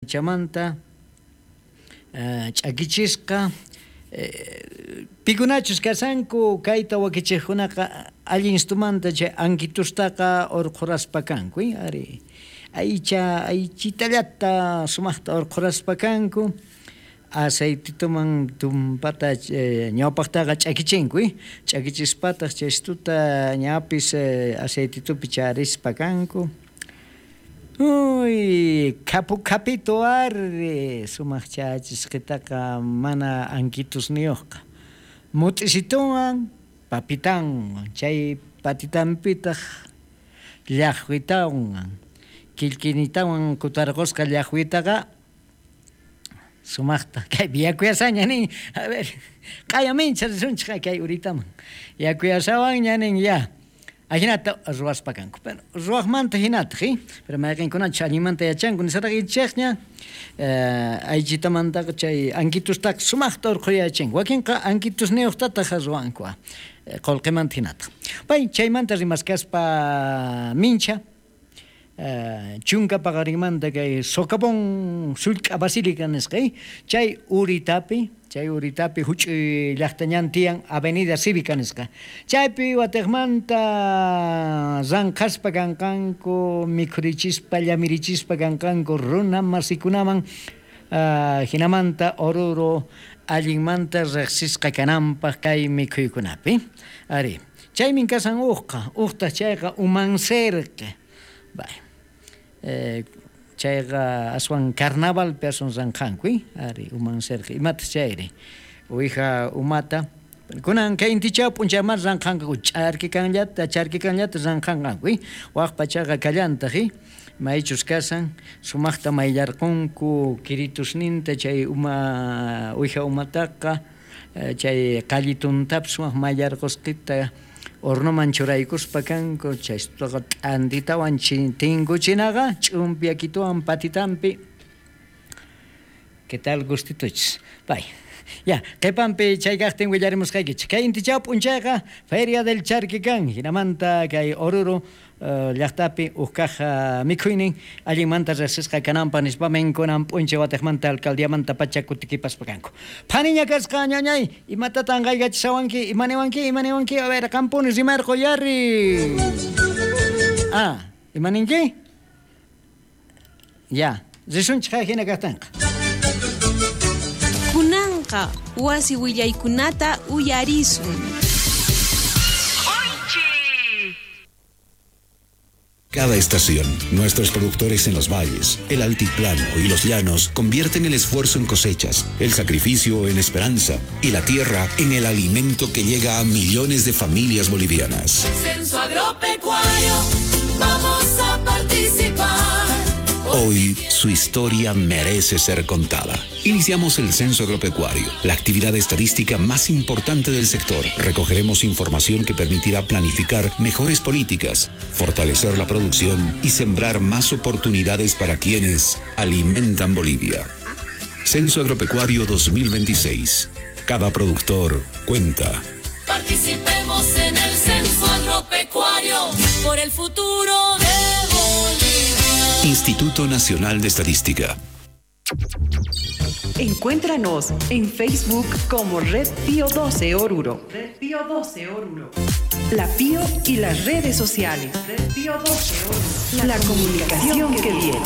Chamanta ch'akichisqa pikunachus kashanku kayta wakichejkunaqa allinstumanta chay ankitustaqa urqhuraspa kanku, ari aycha aychitallata sumajta urqhuraspa kanku aceitituman tumpata ñawpajtaqa ch'akichinku, ch'akichispataq chaystuta ñapis aceititupi charispa kanku. Uy, khapu khapito ari sumaq chayachisqitaqa mana ankitusniyuqqa mut'isituwan papitanwan chay patitanpitaq llaqwitawan killkinitawan kutarqusqa llaqwitaqa sumaqta kaypi yakuyasaña nin a ver q'aya mincha risunchik kay uritaman yakuyasawanña nin ya. Ajinata ruwaspa kanku. Pero ruwaqmanta hinataq, pero mayqinkunachus allinmanta yachanku nisaraqaychikña aychitamantaqa chay ankitustaqa sumaqta urqhuyachin. Wakinqa ankitusniyuqtataq ruwanku qullqimanta hinataq. Pay chaymanta rimaskaspa mincha chunka paqarinmanta kay socavón sullk'a basílica nisqa, chay uritapi huch'uy llaqtañan tiyan Avenida Cívica nisqa. Chaypi watejmanta ranqhaspa kanqanku, mikhurichispa, llamirichispa kanqanku runa masikunaman hinamanta Oruro allinmanta riqsisqa kananpaq kay mikhuykunapi. Ari, chaymin kasan uqqa, uqtaq chayqa umanserqa. Bay. Chayqa aswan carnavalpi aswan ranqhanku, ari umanserqa imataq chayri uwija umata kunan kay intichaw p'unchayman ranqhanqaku ch'arkikanllata charkikanllata ranqhanqanku, waq pachaqa kallantaq, maychus kasan sumaqta mayllarqunku kiritusninta chay uma uwija umataqa chay qallituntapis sumaq mayllarqusqita hornoman churaykuspa kanku chaystaqa t'antitawan tinkuchinaqa ch'umpiyakituwan patitanpi. ¿Qué tal gustituchis? Pay. Ya, qhipanpi chay kaqtin willarimusqaykichik. Kay intichaw p'unchayqa Feria del Charquican hinamanta kay Oruro llaqtapi huk kaq mikhuynin allinmanta riqsisqa kananpaq nispamin kunan p'unchay watejmanta alcaldiamanta pacha kutikipaspa kanku. Phaniña kasqa ñañay, imatatan qaykachishawanki, imaniwanki, imaniwanki, a ver, qampuni rimarqu yari. Ah, imaninki? Ya, risunchik hina kaqtinqa. Kunanqa wasi willaykunata uyarisun. Cada estación, nuestros productores en los valles, el altiplano y los llanos convierten el esfuerzo en cosechas, el sacrificio en esperanza y la tierra en el alimento que llega a millones de familias bolivianas. Censo agropecuario, vamos a participar. Hoy su historia merece ser contada. Iniciamos el Censo Agropecuario, la actividad estadística más importante del sector. Recogeremos información que permitirá planificar mejores políticas, fortalecer la producción y sembrar más oportunidades para quienes alimentan Bolivia. Censo Agropecuario 2026. Cada productor cuenta. Participemos en el Censo Agropecuario por el futuro de Bolivia. Instituto Nacional de Estadística. Encuéntranos en Facebook como Red Pío 12 Oruro. Red Pío 12 Oruro. La Pío y las redes sociales. Red Pío 12 Oruro. La comunicación que viene.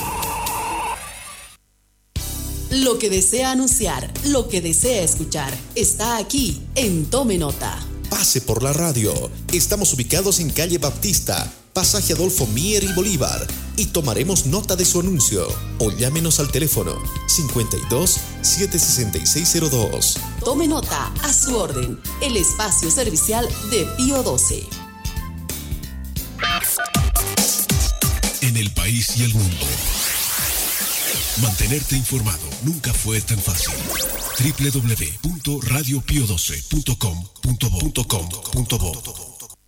Lo que desea anunciar, lo que desea escuchar, está aquí en Tome Nota. Pase por la radio. Estamos ubicados en calle Baptista, pasaje Adolfo Mier y Bolívar, y tomaremos nota de su anuncio o llámenos al teléfono 52 766 02. Tome nota, a su orden, el espacio servicial de Pío 12. En el país y el mundo, mantenerte informado nunca fue tan fácil. www.radiopio12.com.bo.com.bo.